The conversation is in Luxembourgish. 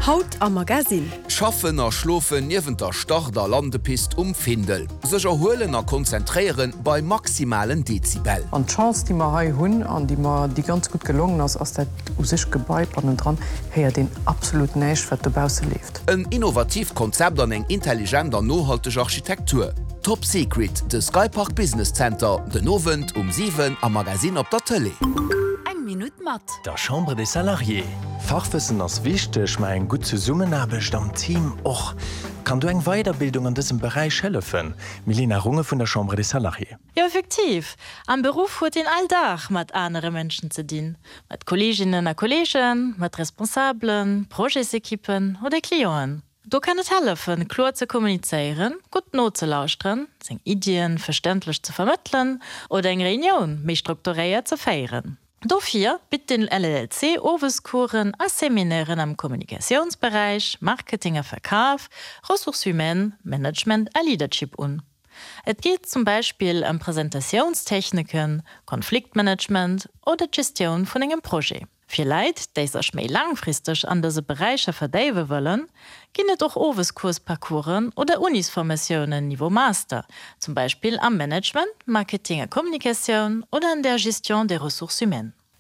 Haut am Magasinn. Schaffen a schlofen niewent der Start a Landepist um Findel. Sech erhuelen a konzentréieren bei maximalen Dezibel. An d'Chance, déi mer hei hunn an déi mer, déi ganz gutt gelongen ass, ass dat u sech Gebai bannendran héiert een absolut näischt, wat dobausse leeft. En innovatiivt Konzept an eng intelligent an nohalteg Architektur. Top Secret, de Skypark Business Center, den Owend um 7 am Magazine op der Tëlee. Eng Minutt mat. Der Chambre des Salariés. Fachwëssen ass wichteg, ma eng gutt Zesummenaarbecht am Team och. Kann do eng Weiderbildung an dësem Beräich hëllefen? Milena Runge vun der Chambre des Salariés. Jo, effektiv. Am Beruff huet een all Dag mat anere Mënschen ze dinn, mat Kolleeginnen a Kolleegen, mat Responsabelen, Projetsekippen oder Clienten. Do kann et hëllefen, kloer ze kommunizéieren, gutt nozelauschteren, seng Iddien verständlech ze vermëttelen oder eng Reunioun méi strukturéiert ze féieren. Dofir bitt den LLC Owescoursen a Seminairen am Kommunikatiounsberäich, Marketing a Verkaf, Ressources humaines, Management a Leadership un. Et geet zum Beispill ëm Presentatiounstechniken, Konfliktmanagement oder d'Gestioun vun engem Projet. Fir Leit, déi sech méi laangfristeg an dëse Beräicher verdéiwe wëllen, ginn et och Owescoursparcoursen oder Unisformatiounen Niveau Master, zum Beispill am Management, Marketing a Kommunikatioun oder an der Gestion des ressources humaines.